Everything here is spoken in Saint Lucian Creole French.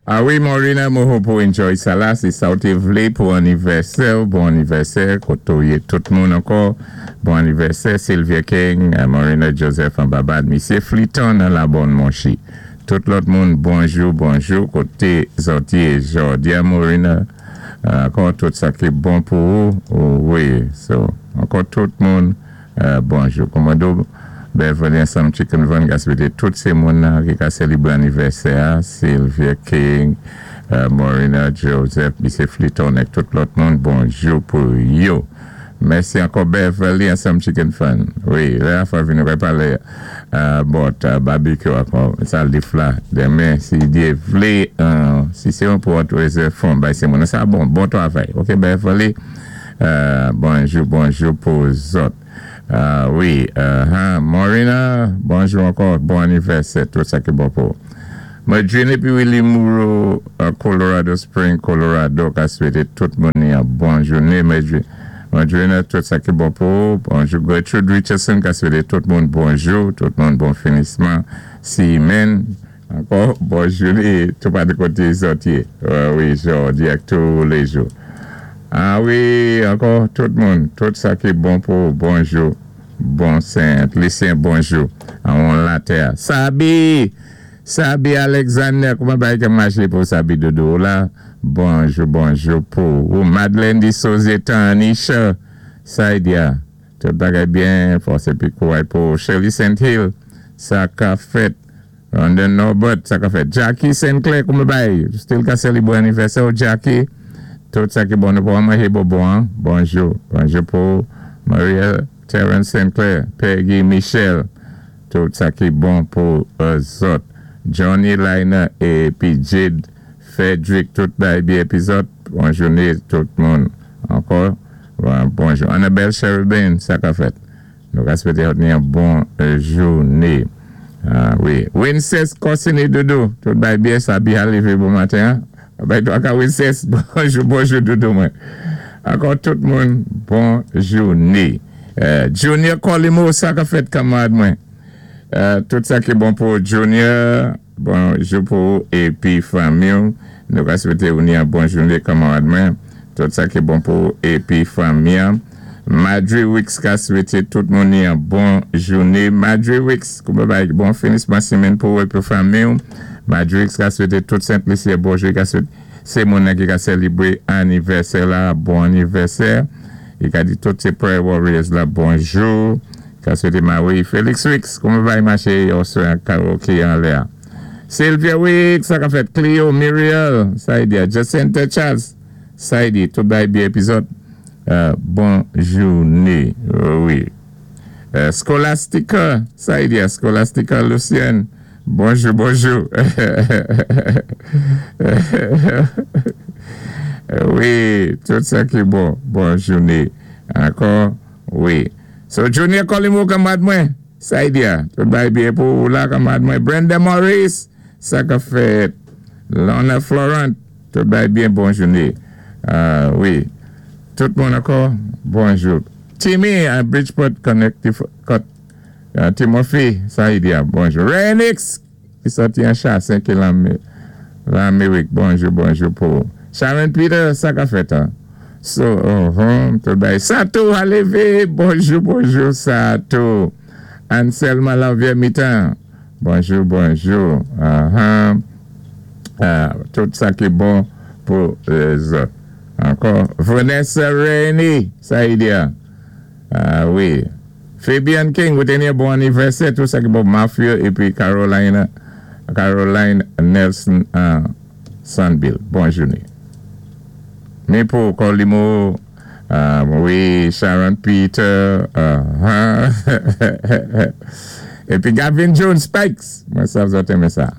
Ah wi, Maureen, mwen hope ou enjoy sa la. Si sa ou té vlé pou anivèsè, bon anivèsè, koto yé tout moun ankò. Bon anivèsè, Sylvia King, Maureen Joseph an Babad, Misyé Fliton nan la Bonne Monchi. Tout lòt moun, bonjou, bonjou, koté zòt yé jòdi-a, Maureen, ankò tout sa ki bon pou ou, wi, so, ankò tout moun, bonjou. Komodo Beverly ansanm Chicken Van ka swété tout sé moun ki ka sélébwé anivèsè a, Sylvia King, Maureen Joseph, Misyé Fliton ak tout lòt moun, bonjou pou yo. Mèsi ankò, Beverly ansanm Chicken Fan. Wi, lè la fwa vini wè palé about barbecue ankò, sa lif la denmen si Dye vlé, si sé yon pou raise fon bay sé moun. Sa bon, bon twavay. Ok, Beverly, bonjou, bonjou pou zòt. Wi, Maureen, bonjou ankò, bon anivèsè, tout sa ki bon pou. Madrine épi Willy Moreau, Colorado Spring, Colorado, ka swété tout moun yon bon jouné. Madrine, tout sa ki bon pou. Bonjou, Gertrude Richardson, ka swété tout moun bonjou, tout moun bon finisman. Simen, ankò, bon jouné, tou pa de koté zòt yé. Wi, jòdi ak tou lé jou. Ah wi, ankò, tout moun, tout sa ki bon pou, bonjou. Bon Sent Lisyen, bonjou. An latè. Sabi! Sabi Alexander, kouman bagay ka maché pou Sabi doudou la? Bonjou, bonjou pou ou. Madeleine di Sozetan, Anisha, Saidia, tout bagay byen, fòs épi kouray pou Shirley St. Hill, sa ka fèt. London Norbert, sa ka fèt. Jackie Sinclair, kouman bagay? Still ka sélébwé anivèsè ou, Jackie? Tout sa ki bon, nou pou manjé bonbon, hein? Bonjou, bonjou pou Maria Terence Sinclair, Peggy Michel, tout sa ki bon pou zòt. Johnny Liner épi Jade Frederick, tout bagay byen épi zòt. Bon jouné tout moun. Ankò, bonjou. Annabelle Cherubin, sa ka fèt. Nou ka swété yon bon jouné. Ah wi. Winces Corsini doudou, tout bagay byen sa byen lévé bon maten. Hein? Ben, toi, ka Winces, bonjou, bonjou doudou mwen. Ankò tout moun, bon jouné. Junior Colimo, sa ka fèt kanmarad mwen. Tout sa ki bon pou Junior, bonjou pou ou épi fanmi. Nou ka swété ou yon bon jouné kanmarad mwen. Tout sa ki bon pou ou épi fanmi. Madre Wicks ka swété tout moun yon bon jouné. Madre Wicks, kouman bagay bon finisman simenn pou ou épi fanmi. Madre Wicks ka swété tout Sent Lisyen bonjou ka swété sé moun ki ka sélébwé anivèsè la, bon anivèsè. I ka di tout sé Prayer Warriors la bonjou. Ka swété Marie Félix Wicks, kouman bagay maché oswa karaoke anlè. Sylvia Wicks, sa ka fèt Cleo, Muriel, sa di Jacinta Charles, sa di tout bagay byen épi zòt. Bon jouné, wi. Scholastica, sa di Scholastica Lucienne, bonjou, bonjou. Wi, tout sa ki bon, bon jouné. Ankò, wi. So, Junior Colimo, kanmarad mwen, sa di tout bagay byen pou ou la, kanmarad mwen. Brenda Morris, sa ka fèt. Lorna Florent, tout bagay byen, bon jouné. Wi. Tout moun ankò, bonjou. Timmy à Bridgeport, Connecticut. Timothy, sa di bonjou. Renix, ki sòti an Chassin, ki Lamérik. Bonjou, bonjou pou Sharon Peter, sa ka fèt, hein? So, tout bagay. Sato a lévé, bonjou, bonjou, Sato. Anselma Lanvier Mitan, bonjou, bonjou. Tout sa ki bon pou zòt. Ankò, Vanessa Rainey, sa di. Ah wi. Fabian King, ou té yon bon anivèsè, tout sa ki bon Mafia épi Caroline, Caroline Nelson Sandbill. Bon jouné. Men pou Colimo, wi, Sharon Peter, épi Gavin Jones Spikes. Mwen sav zòt renmen sa.